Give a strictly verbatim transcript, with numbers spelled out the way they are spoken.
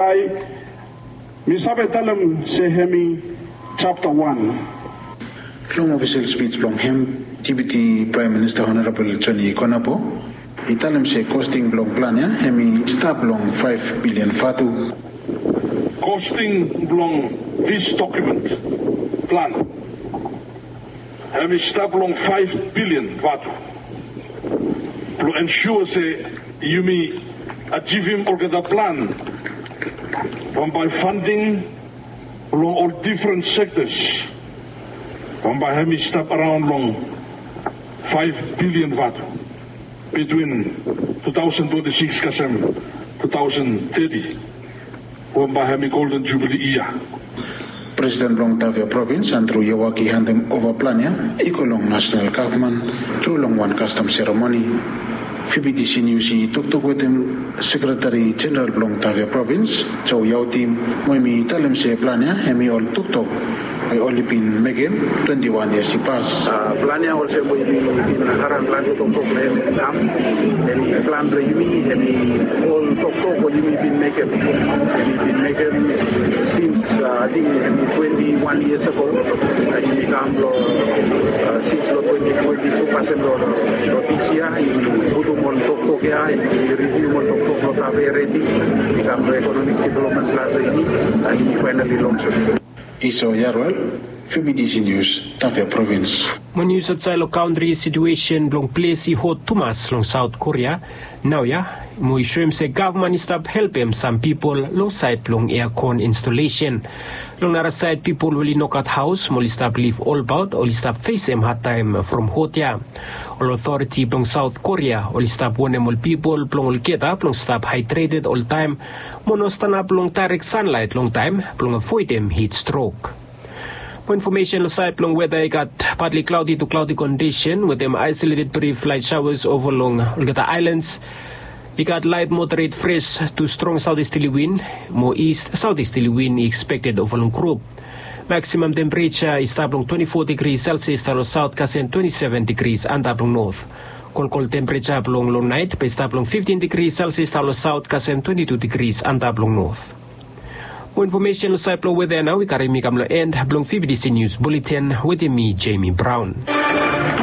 Mi save talem se hemi japta wan. Long ofisel spij blong hem, Deputi Praem Minista Honorabol Joni Konabo i talem se kosting blong plan ya hemi stap long faef bilian vatu. Kosting blong dis dokumen plan hemi stap long faef bilian vatu blong ensua se yumi ajivim olgeta plan bambae fanding long ol difren sektas bambae hemi stap araon long faef bilian vatu bitwin tu taosen twenti sikis kasem tu taosen teti. Bambae hemi golden jubili yia. Presiden blong Tavia Provins, Andru Yawak, i handem ova plan ya i go long nasonal gavman tru long wan kastom seremoni. Fibitisi Nius i toktok wetem sekretari jeneral blong Tavia Provins, Jo Yautim, mo hemi talem se plan ya hemi ol toktok we oli bin mekem twenti wan yias i pas. Plan ya olsem we yumi bin harim planti toktok long hem i kam, hemi plan blong yumi, hemi ol toktok we yumi bin mekem, hemi bin mekem sins, ating hemi twenti wan yias ago. Yumi kam long sins long twenti twenti tu kasem long dis yia yumi putum ol toktok ya, yumi rivium ol toktok long Tavia redi i kam long ekonomik developmen plan blong yumi. Yumi faenali long Iso Yarwel, Fibitisi Nius, Tavia Provins. Mo nius aotsaed long kantri, situesen blong ples i hot tumas long Saot Korea naoia, mo i soem se gavman i stap helpem sam pipol long saed blong eakon instolesen. Long narasaed, pipol we oli nogat haos mo oli stap liv olbaot oli stap fesem hadtaem from hot ya. Ol otoriti blong Saot Korea oli stap wonem ol pipol blong olgeta blong stap haedreted oltaem mo no stanap long daerek sanlaet longtaem blong avoedem hit strok. Mo infomesen long saed blong weta, i gat patli klaodi tu klaodi kondisen wetem aesoleted brif laet saoas ova long olgeta aelans. I gat laet moderet fres tu strong saotisteli win mo ist saotisteli win i ekspekted ova long grup. Maksimam tempereja i stap long twenti fo digri selsias daon long saot kasem twenti seven digri antap long not. Kolkol tempereja blong long naet bae i stap long fiftin digri selsias daon long saot kasem twenti tu digri antap long not. Mo infomesen long saed blong weta ya nao i karim mi kam long en blong Fibitisi Nius Buleten wetem mi, Jemi Braon.